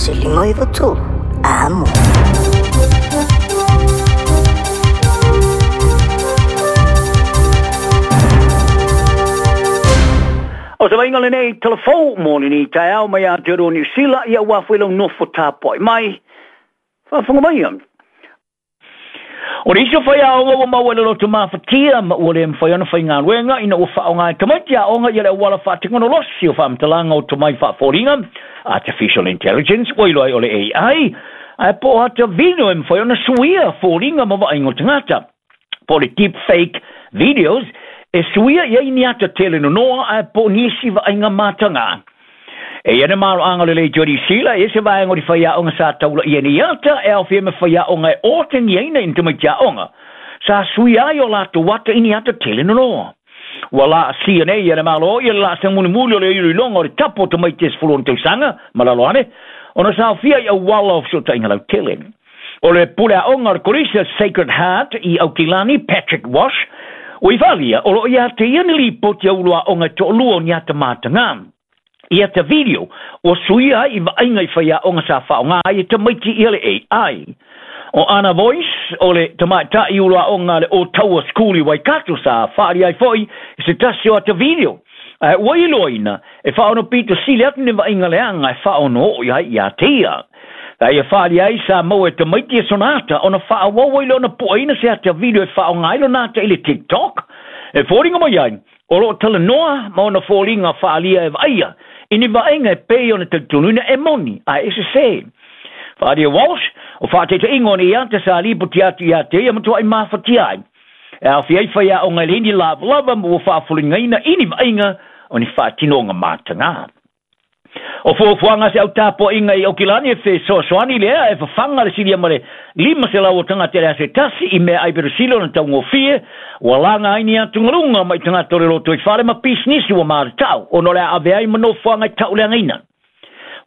1 5 9 3, Amo. O se vaaiga lenei talafou mo lenei taeao mai Aotearoa Niu Sila, ia ua foi lau nofo tapuai mai. Faafofoga maia. O le isi o faiaoga ua maua i le loto mafatia ma ua le mafai ona faigaluega ina ua faaaoga e tamaiti aoga ia le auala faatekonolosi o faamatalaga o tomai faafoliga, artificial intelligence, ua iloa ai o le AI, ae po o ata video e mafai ona suia foliga ma vaaiga o tagata, po o le deep fake videos, e suia i ai ni ata tele nonoa ae po o nisi vaaiga mataga. E ia na maloaga lelei Jodi Sila e se vaega o le faiaoga sa taulaia nei ata e aofia ma faiaoga e otegiaina i ni tamaiti aoga sa suia ai o latou ata i ni ata tele nonoa. Ua laasia nei e le Malo ia le laasaga mulimuli o le iloiloga o le tapu o tamaiti e 16 tausaga ma lalo ane ona saofia i auala o fesootaiga lautele. O le pule aoga o le Kolisi Sacred Heart i Aukilani, Patrick Wash, ua i faaalia o loo ia te ia ni lipoti a ulu aoga e toalua o ni ata mataga i ata video ua suia ai i vaaiga i faiaoga sa faaaoga ai e tamaiti ia le AI. O Anna Voice, o le tamaitai ulu aoga a le Otaua School i Waikato, sa faaalia ai foi i se tasi o ata video, ae ua iloaina e faaono pito sili atu ni vaaiga leaga e faaono oo i ai ia te ia. Sa ia faaalia ai sa maua e tamaiti e sona ata ona faaauau ai lea ona puaina se ata video e faaaoga ai lona ata i le TikTok. E foliga mai ai, o loo talanoa ma ona foliga faaalia e vaaia i ni vaaiga e pei ona talitonuina e moni ae e sesē. Faaalia Walsh, o faataitaiga o nei ata sa lipoti atu ia te ia matuai mafatia ai. E aofia ai faiaoga e leai ni lavalava ma ua faafoligaina i ni vaaiga o ni faatinoga mataga. O fuafuaga a se au tapuaiga i Aukilani e fesoasoani lea e fafaga le silia ma le 500 o tagata i le aso e tasi i meaai perisili ona taugofie, ua laga ai ni atugaluga mai tagata o le lotoifale ma pisinisi ua matatau ona o le a ave ai ma nofoaga e tauleagaina.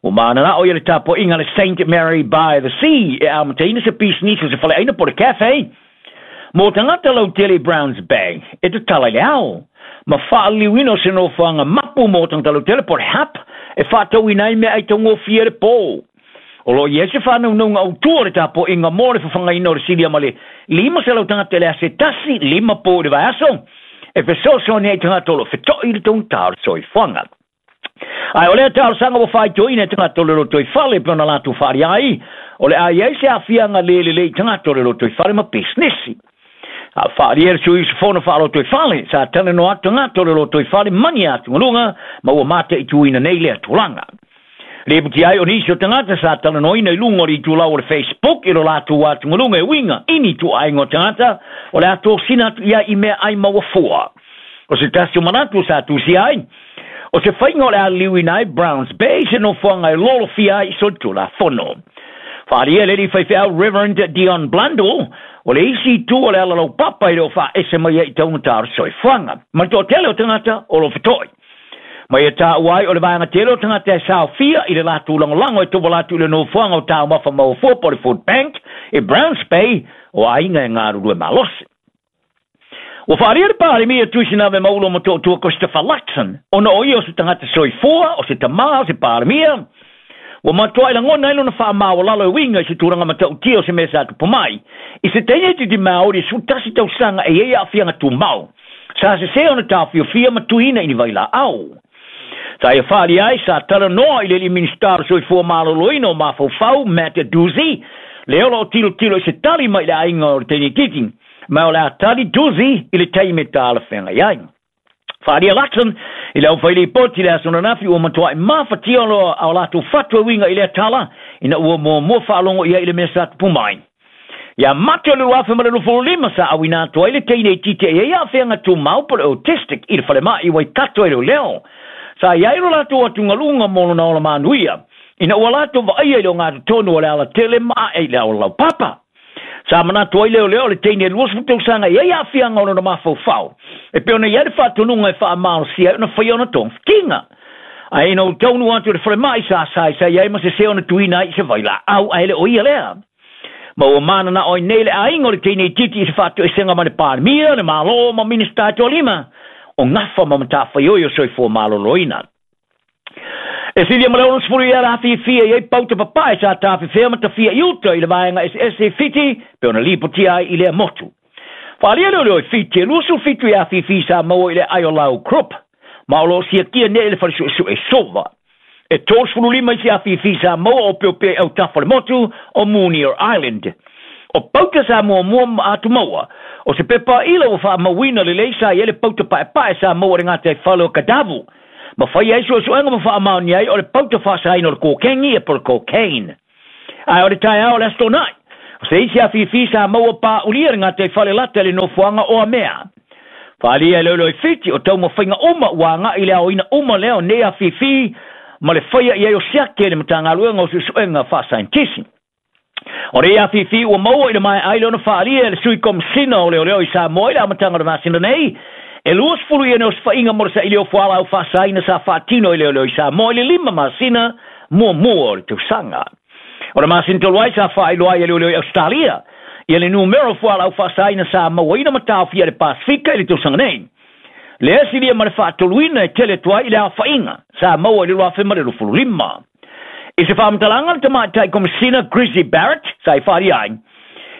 Ua mananao ia le tapuaiga a le Saint Mary by the Sea e amataina se pisinisi o se faleaina po o le cafe mo tagata lautele i Browns Bay e tatala i le ao, ma faaliliuina o se nofoaga mapu mo tagata lautele po o le hub e faatauina ai meaai taugofie le po. O loo i ai se faanaunauga autū o le tapuaiga mo le fafagaina o le silia ma le 500 tagata i le aso e tasi, 5 po i le vaiaso, e fesoasoani ai i tagata o loo feto'i i le taugata o le soifuaga. Ae o lea talosaga ua faitoina e tagata o le lotoifale pe ona latou faaalia ai, o le a i ai se aafiaga le lelei i tagata o le lotoifale ma pisinisi. A faaalia e le sui usufono faalotoifale, sa talanoa atu tagata o le lotoifale ma ni atugaluga ma ua mataituina nei lea tulaga. Lipoti ai o nisi o tagata sa talanoaina i luga o le itulau o le Facebook i lo latou atugaluga e uiga i ni ituaiga o tagata o le a tosina atu i ai i meaai maua fua. O se tasi o manatu sa tusia ai, o se faiga o le a liliuina ai Browns Bay se nofoaga e lolofia ai i solitulafono. Faaalia e le alii faifeau Reverend Dion Blundell, o le isi itu o le ala laupapa e le o faaese mai ai i taugata o le soifuaga ma le toatele o tagata o lo feto'i. Ma ia taua ai o le vaega tele o tagata e saofia i le latou lagolago e tauala atu i le nofoaga o taumafa maua fua po o le Food Bank i Browns Bay, o aiga e galulue malosi. Ua faaalia le Palemia Tuisinave Maulo Motootua Christopher Luxon, ona o ia o se tagata soifua, o se tamā, o se Palemia, ua matuai lagona ai lona faamaualalo e uiga i se tulaga matautia o se mea sa tupu mai i se teineitiiti Māori e 11 tausaga e i ai aafiaga tumau, sa sesē ona taofiofia ma tuiina i ni vailaau. Sa ia faaalia ai, sa talanoa i le alii Minisita o le Soifua Maloloina o Mafaufau, Matt Doocey, lea o loo tilotilo i se tali mai i le aiga o le teineitiiti, ma o le a tali Doocey i le taimi e talafeagai ai. Faaalia Luxon i le aufailipoti i le aso ananafi ua matuai mafatia o latou fatu e uiga i lea tala ina ua muamua faalogo i ai i le mea sa tupu mai. Ia Mate o le 2025 sa auina atu ai le teineitiiti e i ai aafiaga tumau po o le autistic i le falemai i Waikato e leoleo. Sa i ai lo latou atugaluga mo lona ola manuia ina ua latou vaaia i le ogatotonu o le alatele ma ae i le auala laupapa. Sa manatu ai leoleo o le teine e 20 tausaga e i ai aafiaga o lona mafaufau e pei ona i ai le faatonuga e faamalosia ai ona faia ona togafitiga. Ae ina ua taunuu atu i le falemai, sa saisai ai ma sesē ona tuuina ai i se vailaau, ae le o ia lea. Ma ua mananao ai nei le aiga o le teineitiiti i se faatoesega ma le Palemia, le Malo ma Minisita e toalima o gafa ma matafaioi o soifua maloloina. E silia ma le 60 ia le afifi e i ai pauta papae sa tafefea ma tafia i uta i le vaega eseese i Fiti pei ona lipotia ai i lea motu. Faaalia leoleo i Fiti e 27 ia afifi sa maua i le aai o Lau Krupp ma o lo o siakia nei e le fale suesue Sova. E 35 isi afifi sa maua o opeopea i autafa o le motu o Moonier Island. O pauta sa muamua ma atumaua, o se pepa ila ua faamauina lelei sa i ai le pauta paepae sa maua i le gataifale o Kadavu, ma faia ai suesuega ma faamaonia ai o le pauta faasaina o le kokengi po o le cocaine. Ae o le taeao o le Aso Toonai, o se isi afifi sa maua paaulia i le gataifale lata i le nofoaga o Amea. Faaalia e leoleo i Fiti, o taumafaiga uma ua agai i le aoina uma lea o nei afifi ma le faia i ai o siaki e le Matagaluega o Suesuega Faasaienitisi. O nei afifi ua maua i le maea ai lea ona faaalia e le Sui Komesina o Leoleo i Samoa i le amataga o le masina nei, e 20 ia osofaiga mo le saili o fualaau faasaina sa faatino e leoleo i Samoa i le 5 masina muamua o le tausaga. O le masina talu ai sa faailoa ai e leoleo i Ausetalia ia le numera o fualaau faasaina sa mauaina ma taofia i le Pasefika i le tausaga nei. Lea silia ma le faatoluina e tele atu ai i le aofaiga sa maua i le 2025. I se faamatalaga le tamaitai Komesina Grizzy Barrett sa i faaalia ai,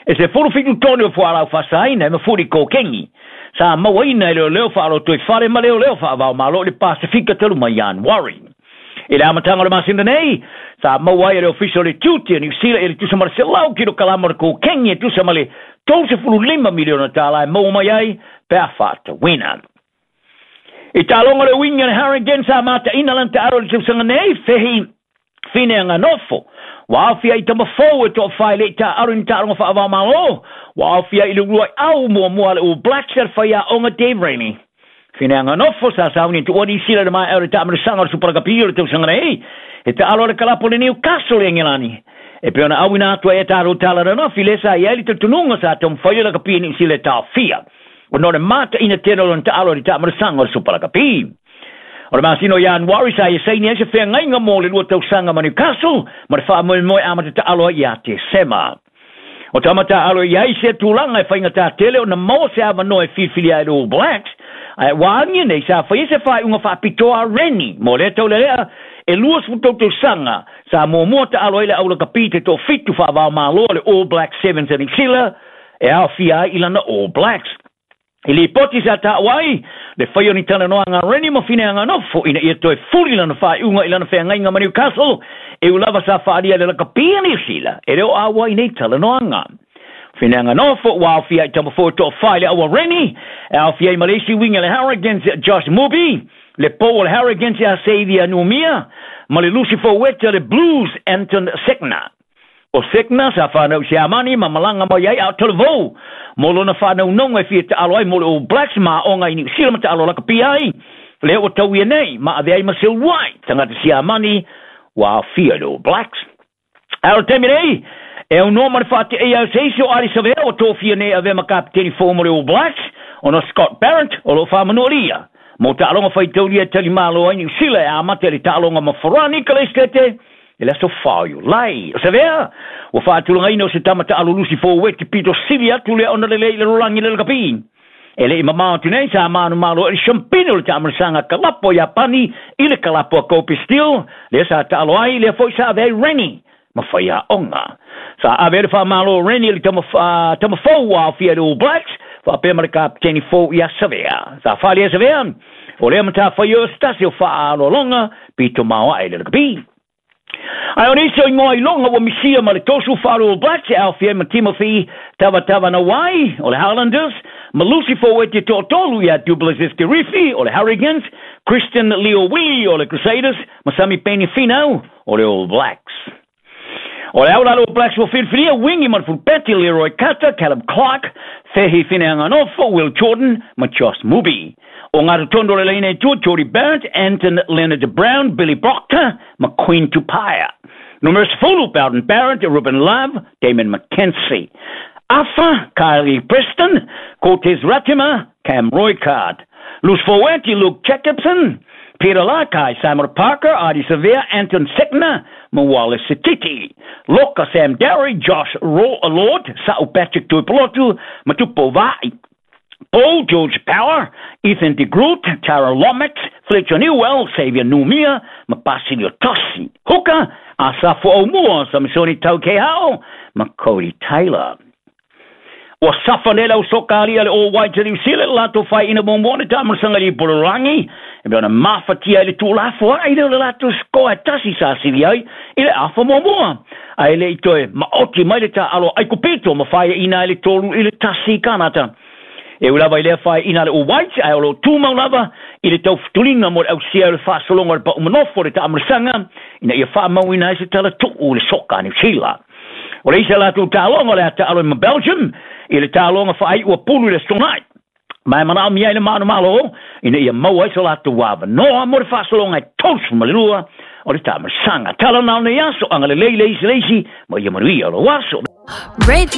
e 17 tone o fualaau faasaina e mafuli kokengi sa mauaina e leoleo faalotoifale ma leoleo faavaomalo i le Pasefika talu mai Ianuari. I le amataga o le masina nei, sa maua ai e le Ofisa o le Tiute o Niu Sila i le tusa ma le 100 kilokalama o le kokengi e tusa ma le $35 miliona tala e maua mai ai pe a faatauina. I taaloga le uiga le Harrigan sa mataina lana taalo i le tausaga nei, fehi Fineanganofo, ua aofia i tama fou e toafā e le i taaalo i ni taaloga faava-o-Malo, ua aofia i le uluai au muamua a le All Blacks a le faiaoga Dave Rennie. Fineanganofo sa sauni tuua Niu Sila i le maea o le taamilosaga o le Super Rugby o le tausaga nei, he taalo a le kalapu o le Newcastle i Engelani. E pei ona auina atu ai e tatou tala ranofi lea sa i ai le talitonuga sa taumafai le lakapi e Niu Sila e taofia ona o le mataina tele o lona taalo i le taamilosaga o le Super Rugby. O le masina o Ianuari sa ia saini ai se feagaiga mo le 2 tausaga ma Newcastle ma le faamoemoe amata taalo ai ia Tesema. O tama taalo i ai se tulaga e faigata tele ona maua se avanoa e filifilia ai le All Blacks, ae ua agia nei sa faia se faaiuga faapitoa a Rennie mo lea taulelea e 23 tausaga sa muamua taalo ai le aulakapi te toafitu faavaomalo a le All Blacks Sevens a Niu Sila e aofia ai i lana All Blacks. I lipoti sa taua ai le faia o ni talanoaga a Rennie ma Fineanganofo ina ia toe fuli lana faaiuga i lana feagaiga ma Newcastle, e ū lava sa faaalia le lakapi a Niu Sila e le o ʻauai nei talanoaga. Fineanganofo ua aofia i Tamafo e toafā i le aua Rennie, e aofia ai ma le isi uiga le Harrogans Josh Mubi, le pou o le Harrogans ia Xavier Numia, ma le Lucy Foueta le Blues Anton Segner. O Segner sa whanau i Siamani ma malanga mai ai a o talavou mo lona whanaunauga e fia taalo ai mo le All Blacks ma aoga i Niu Sila ma taalo lakapi ai lea ua tau ia nei ma avea ai ma seuluai tagata Siamani ua aofia i le All Blacks. Ae o le taimi nei, e aunoa ma le faateia o se isi o Ardie Savea ua tofia nei e avea ma kapeteni fou mo le All Blacks ona o Scott Barrett o lo o faamanualia mo taaloga faitaulia e talimalo ai Niu Sila e amata i le taaloga ma Farani Kaleistete i le aso 4 o Iulai. O Savea, ua faatulagaina o se tama taalo lusi forward pito sili atu lea ona lelei i le lalolagi le lakapi. E le i mamao atu nei sa manumalo ai le siampine o le taamilosaga kalapo a Iapani i le kalapo a Kobe Steel, lea sa taalo ai, lea foi sa ave ai Rennie ma faiaoga. Sa ave ai le faamalo o Rennie i le tama, tama fou ua aofia i le All Blacks, faapea ma le kapeteni fou ia Savea. Sa fale e Savea, o lea matafaioi o se tasi o faaaloaloga pito maoae i le lakapi. Ae o nisi o igoa iloga ua misia ma le tosu faalu All Blacks e aofia ai ma Timothy Tavatavanawai o le Highlanders, ma Lucy Foueti toatolu ia Duplessis Kirifi o le Hurricanes, Christian Leo Willie o le Crusaders ma Samipeni Finau o le All Blacks. O le au la le All Blacks ua filifilia wingi ma le fulupeti Leroy Carter, Caleb Clarke, Fehi Fineanganofo, Will Jordan ma Josh Mubi. O ngā totonu o le laina i tua, Jordie Barrett, Anton Leonard Brown, Billy Proctor ma Queen Tupaea. Numera 10, Bowden Barrett, Ruben Love, Damon McKenzie. Afa, Kylie Preston, Cortez Ratima, Cam Roigard. Loose forward, Luke Jacobson, Peter Lakai, Simon Parker, Ardie Savea, Anton Segner ma Wallace Sititi. Loka, Sam Dowrey, Josh Lord, Sa'u Patrick Tuipulotu ma Tupou Vaa'i. Paul George Power, Ethan de Groot, Tara Lomax, Fletcher Newell, Xavier Numia ma Basilio Tosi. Hooker, Asafo Aumua, Samisoni Taukeiaho ma Codie Taylor. Ua safa nei le au soka alii a le All Whites a Niu Sila i le latou faiaina muamua o le taamilosaga i le ipololagi e pei ona mafatia ai le tuulafoai lea o le latou sikoa e tasi sa sili ai i le afa muamua ae le i toe maoti mai le taaalo a Aikupito ma faiaina ai le 3-1 i Kanata. E ui lava i lea faiaina a le All Whites ae o lo o tumau lava i le taufutuliga mo le ausia o le faasologa o le pau manofo o le taamilosaga ina ia faamauina ai se tala tuu i le soka a Niu Sila. O le isi a latou taaloga o le a taalo ai ma Belgium i le taaloga faaiu a pulu i le Aso Toonai. Ma e manaomia ai le manumalo ina ia maua ai so latou avanoa mo le faasologa e 32 o le taamilosaga. Tala na o nei aso, agalelei le isi le isi, ma ia manuia lou aso. Red.